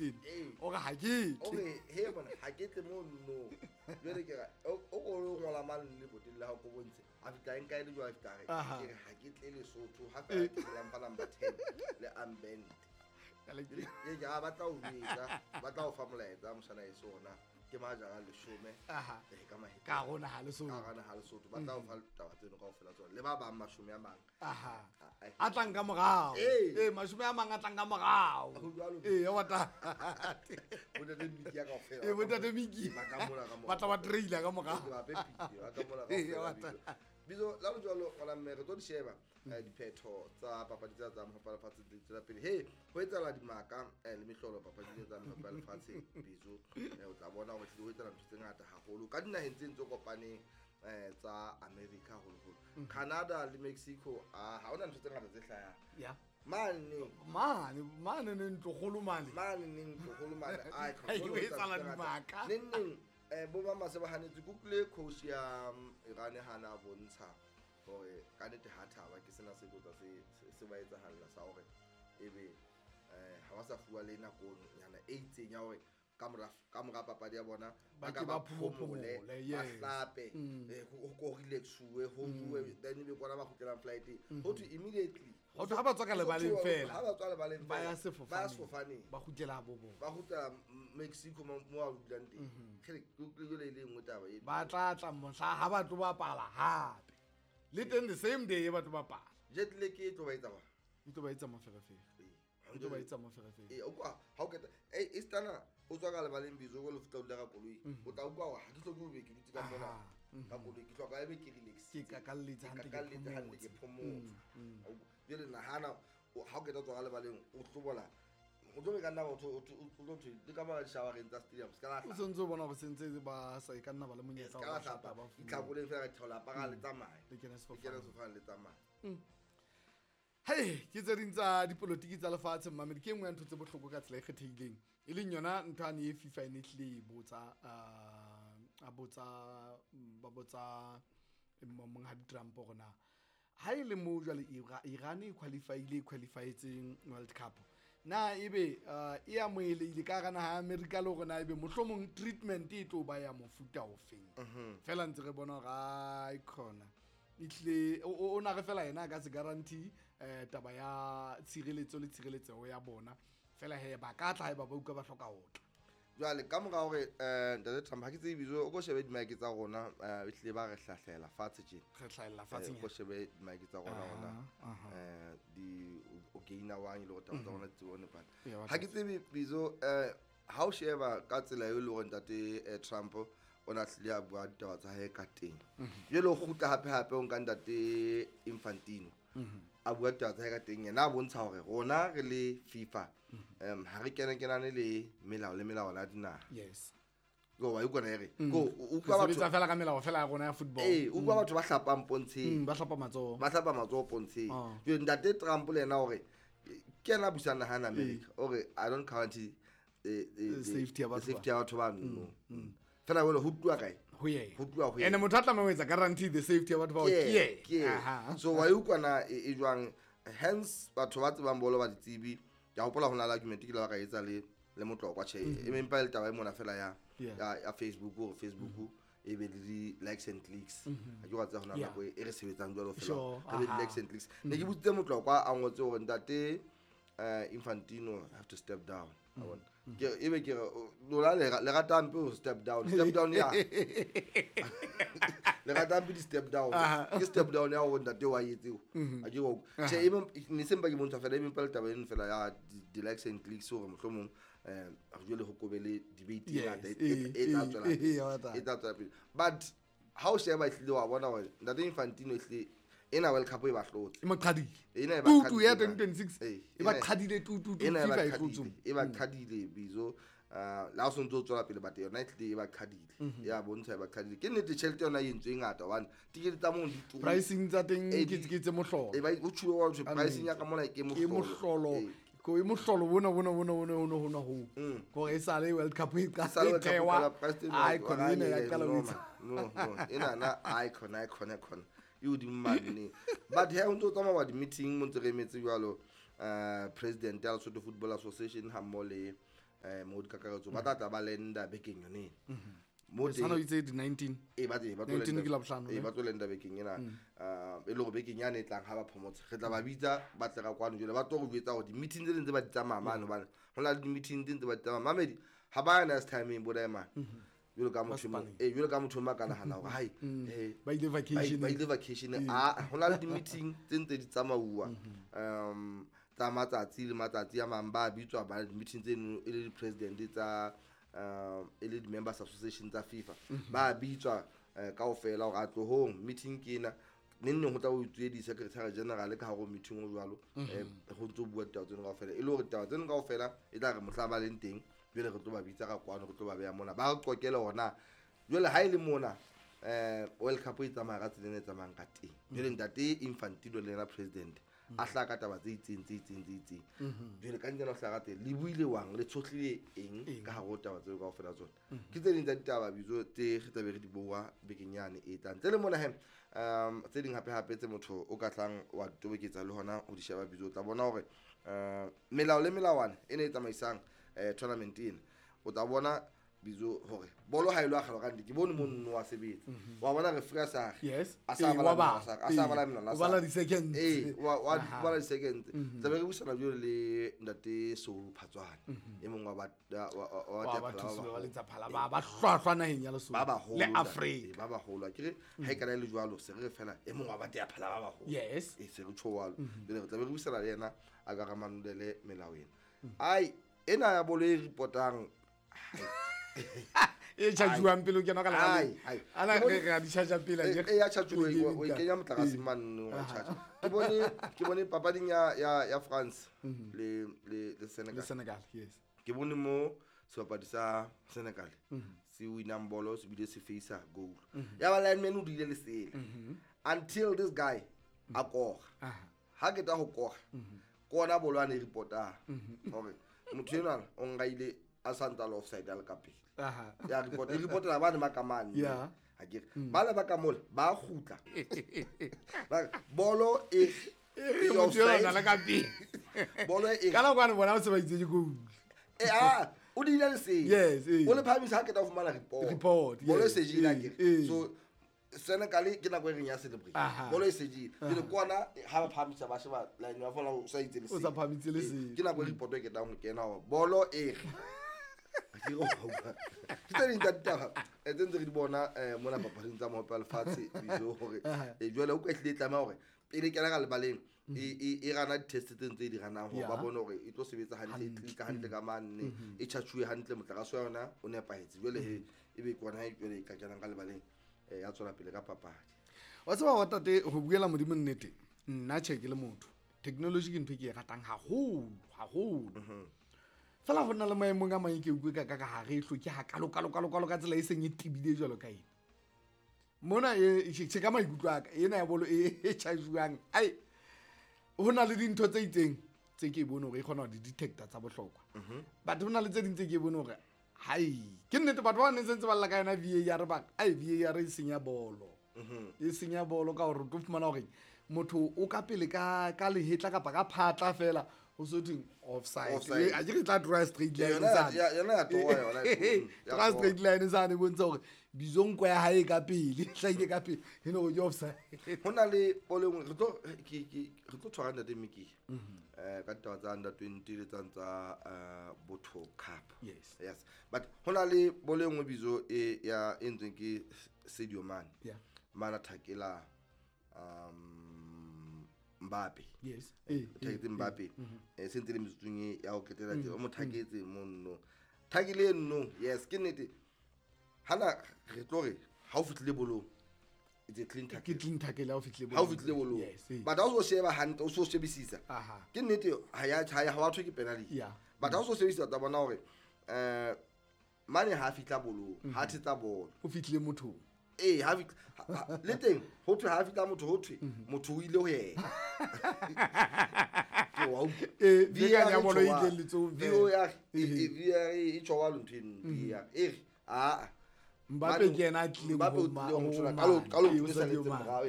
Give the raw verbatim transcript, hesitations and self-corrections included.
Houston. O re ha ke o re he bona ha ke tle mo no jwale ke ra o o ngola mang le boteng la ho ko bontshe a fitla nka ile jwa fitla re ke re ha ke tle Lesotho ha fela ke la mpa number ten le armband ke ke a batla ho etsa batla ho fa molaetsa mosana e sona ke majara leshome eh ka mahe ka rona ha Lesotho ka rona ha Lesotho ba tla o fa taba tseno kaofela tsona le ba bang mashome a mang aha a tlang ka morao eh mashome a mang a tlang ka morao eh wa ta botate Miki ya kaofela eh botate Miki ba ka mona ka ba tla ba trailer ka morao ba pepi ba ka mona kaofela bizo la jwalo ngwana mme re tlo di sheba diphetho tsa papadi tsa tsa mohope wa lefatshe di tswela pele he ho etsahala dimaka le mehlolo papadi tsa mohope wa lefatshe bizo o tla bona hore ho etsahala ntho tse ngata haholo ka dinaheng tse ntse kopaneng tsa America haholoholo Canada le Mexico ha hona ntho tse ngata tse hlayang ya mane mane mane ne ntlokgolo mane mane ne ntlokgolo mane ai ho etsahala dimaka neng neng eh bo ba mase ba hanetse kutlwe coach ya Iran hana bontsha hore ka nnete ha thaba ke sena se botsa se se ba etsahalla sa hore ebe eh ha ba sa fuwa le nako nyana e itseng ya hore ka mora ka mora papadi ya bona ba ka ba phomole ba hlape ho ko relaxuwe ho bue then be kona ba kgutlelang flight ho to immediately ho ha ba tswa ka lebaleng fela ha ba tswa lebaleng ba ya sefofane ba sefofane ba kgutlela bo bo ba kgutlela Mexico mo a dulang teng ke ke le le nngwe taba e ba tla tla mohla ha ba tlo bapala hape le teng the same day ba tlo bapala jet lag e tlo ba etsa ba e tlo ba etsa moferefere e tlo ba etsa moferefere eh o kwa ha o keta eh istana o tswa ka lebaleng bizo go le fitla o dula ka koloi o tla utlwa hore ha ke hloke ho be ke dutse ka mona ka koloi ke hloka ebe ke relax ke kakalletse hantle ke hantle ke phomotse jwale nahana ha o keta tswa ka lebaleng o hlobola o tlo be ka nna o tlo thwe le ka mara di-showereng tsa stadium se ka la o sentse o bona hore sentse ba sa e ka nna ba le monyetla wa hlapa itlhakoleng fela ka theola apara le tsamaye le kene sefofane sefofane le tsamaye Hey, ke tse ding tsa dipolotiki tsa lefatshe mmamedi ke nngwe ya ntho tse bohloko ka tsela e kgethehileng e leng yona ntho ane e FIFA e ne tlile e botsa a botsa ba botsa monghadi Trump hore na ha e le mo jwale Iran e qualify-ile e qualify-etseng World Cup na ebe e amohelehile ka hara naha ya America le hore na ebe mohlomong treatment e tlo ba ya mofuta ofeng fela ntse re bona hore ai khona itle o na re fela yena ka se guarantee eh taba ya tshireletso le tshireletseho ya bona fela he ba ka tla ba ba utlwa ba hloka ho tla jwale ka mora hore eh ntate Trump ha ke tsebe bizo o ko shebe di-mic tsa rona eh ehlile ba re hlahlela fatshe tje re hlahella fatshe o ko shebe di-mic tsa rona rona eh di o gaina wang le hore taba tsa rona di tsebe nepana ha ke tsebe bizo eh ha o sheba ka tsela eo le hore ntate Trump o na tlile a bua ditaba tsa hae ka teng jwale o kgutla hape hape o nka ntate Infantino a bua ditaba tsa hae ka teng yena a bontsha hore rona re le FIFA um ha re kene kenane le melao le melao la dinaha yes go wa ikona ere go o utlwa batho fela ka melao fela ya rona ya football eh utlwa batho ba hlapang pontsheng ba hlapa matsoho ba hlapa matsoho pontsheng jwale ntate Trump le yena hore ke yena a busang naha ya America hore I don't guarantee the safety ya batho safety ya batho ba no fela wena ho tluwa kae ho yena ho tluwa ho yena ene motho a tlameha ho etsa guarantee the safety ya batho bao ke yena so wa utlwana e jwang hence batho ba tsebang bolo ba ditsebi ke a hopola ho na le argument ke la ka etsa le le motlokwa tjhe e mempa le taba e mona fela ya ya Facebook hore Facebook e be le di likes and clicks ha ke wa tseba hona nako e re sebetsang jwalo fela re be di likes and clicks ne ke botsitse motlokwa a ngotse hore ntate Infantino have to step down I want ke ebe ke lona le rata hampe ho step down step down ya le rata hampe di step down ke step down ya hore ntate wa etseo a ke go tjhe ebe ne sempa ke bontsha fela e mempa le taba eno fela ya di likes and clicks hore mohlomong eh jwale ho kobe le debate e ngata e tla tswela e tla tswela pele but ha o sheba ehlile wa bona hore ntate Infantino ehlile ena World Cup e ba hlotse e mo qhadile ena e ba tutu ya twenty twenty-six e ba qhadile tutu ena e ba FIFA e qhadile hlotse e ba qhadile bizo la o sontso o tswela pele but yona e tlile e ba qhadile ya bontsha e ba qhadile ke nnete tjhelete yona e entswe e ngata hobane tikete tsa moo di turu pricing tsa teng ke ke tse mohlolo e ba o tjhuwe wa thwe pricing ya ka mona ke ke mohlolo mohlolo ko e mohlolo bona bona bona bona bona hona ho gore e sale World Cup e Sale qala World Cup e thewa qala, price teng ai wa- khona ena ya qala ho no, etsa no no ena na icon icon icon e hodimo mane but he o ntso tsamaya wa di-meeting mo ntse re emetse jwalo uh president ya Lesotho Football Association ha mmoho le eh mo dikakaretso ba tla tla ba lenda bekeng yone ena. Mo teng o itse di nineteen e ba teng ba tlo nineteen ke la bohlano e ba tlo lenda bekeng ena eh e le gore bekeng yane e tlang ha ba phomotse re tla ba bitsa ba tle ka kwano jwale ba tlo go jwetsa gore di-meeting tse ding tse ba di tsamaya mane hobane ho na le di-meeting tse ntse ba di tsamaya mamedi ha ba ya next time bo daema jwalo ka motho e jwalo ka motho ma ka nahana hore hai eh ba ile vacation ba ile vacation a hona le di-meeting tse ntse di tsamauwa um tsa matsatsi le matsatsi a mang ba bitswa ba di-meeting tseno e le di-president tsa um e le di-members association tsa FIFA ba bitswa kaofela hore a tlohong meeting ke ena neng neng ho tla o itswe di-secretary general ka hare ho meeting o jwalo ho ntso bua ditaba tseno kaofela e le hore ditaba tseno kaofela e tla re mohla ba leng teng jwale re tlo ba bitsa ka kwano re tlo ba beha mona ba re qoqele hona jwale ha e le mona eh World Cup e tsamaya ka tsela e tsamayang ka teng jwale ntate Infantino le yena president a hlaka ka taba tse itseng tse itseng tse itseng jwale ka ntjena o hlaka teng le buile wang le tshohlile eng ka hare ho taba tseo kaofela tsona ke tse ding tsa ditaba bitso tse re tlabe re di bua bekeng yane e tlang ntle le mona he um tse ding hape hape tse motho o ka tlang wa toboketsa le hona ho di sheba bitso o tla bona hore um melao le melawana e ne e tsamaisang eh tournament ena o tla bona bitso hore bolo ha e lo akgelo ka nnete ke bone monno wa sebetsa wa bona re free sa yes a sa bala a sa bala melana o bala di-seconds eh wa wa bala di-seconds tlabe re buisana jwale le ntate Soul Phatswane e mongwe wa wa wa ba letsa phala ba ba hlwahlwa naheng ya Lesotho ba baholo le Afrika ba baholo akere ha e kana le jwalo se re fela e mongwe wa ba tea phala ba baholo yes e se re tjho jwale re tlabe re buisana le yena a ka ramanolele melao ena ai ena ya bolo e reportang e charge-uwang pele o kena ka ai ai ana re re di charge pele e ya charge o e kenya motlakase mane wa charge ke bone ke bone papading ya ya ya France le le le Senegal le Senegal yes ke bone mo sebapadi sa Senegal se winang bolo se bile se face goal ya ba lineman o dile lesele until this guy a koga ha ke ta ho koga kona bolo a ne reporta hore motho enwa o ngaile a santsa le offside a le ka pele ya report e reportela ba ne ba ka mane yeah ha ke ba le ba ka mola ba kgutla ba bolo e e motho enwa le ka pele bolo e ka la kwana bona o se ba itse ke goal e a o dile le se yes o le phamisa ha ke ta fumana report report bolo e sejile akere so Senegal ke nako e reng ya celebrate bolo e sejile pele kwana ha ba phamisa ba sheba line wa fona o sa itse le o sa phamitse le se ke nako e report e ke tang ho kena hore bolo e ke go bua ke tse ding tsa ditaba tse ntse re di bona mona papading tsa mohope wa lefatshe bitso hore jwale o ka ehlile e tlameha hore pele kena ka lebaleng e e rana di-test tse ntse di ranang hore ba bone hore e tlo sebetsa hantle e tlika hantle ka mane e charge-uwe hantle motlakase wa yona o nepahetse jwale he ebe ke ona jwale e ka kenang ka lebaleng ya tswela pele ka papadi wa tseba wa tate ho buela modimo nnete nna tjhe ke le motho technology ke ntho e ke e ratang haholo haholo fela ho nna le maemong a mang ke utlwe ka ka ka hare e hloke ha kalo kalo kalo kalo ka tsela e seng e tebile jwalo ka ena mona e tjhe ka maikutlo a ka ena ya bolo e e charge-uwang ai ho na le dintho tse itseng tse ke bone hore e kgona ho di detecta tsa bohlokwa but ho na le tse ding tse ke bone hore hai ke nnete batho ba ne sentse ba lla ka yona V A R ba ai V A R e senya bolo e senya bolo ka hore o tlo fumana hore motho o ka pele ka ka lehetla kapa ka phatla fela o so thing offside a ke re tla draw straight line sa yona ya toa yona draw straight line sa ne bontsha hore bizonko ya hae ka pele hlaile ka pele e no ke offside hona le polo engwe re tlo ke ke re tlo tshwara ntate Miki eh ka ditaba tsa under twenty le tsa tsa Botho Cup yes yes but hona le bolo engwe bizo e ya e ntsweng ke Sadio Mane yeah mana thakela um Mbappe yes eh thaketse Mbappe eh sentse le metsotsong e ya ho ketela tse o mo thaketse monno thakile nno yes ke nnete hana re tlo re ha o fihlile bolong it's a clean tackle ke clean tackle ha o fihlile bolong ha o fihlile bolong but ha o so sheba hantle o so shebisisa ke nnete ha ya ha wa thwe ke penalty but ha o so shebisisa ta bona hore eh mane ha fihla bolong ha thetsa bolo o fihlile motho eh ha le teng ho thwe ha fihla motho ho thwe motho o ile ho yena ke wa eh V A R ya bolo e ile letsong V A R V A R e tjho wa ntho eno V A R e re a Mbappe ke yena a tlileng Mbappe o tlileng ho ka lo ka lo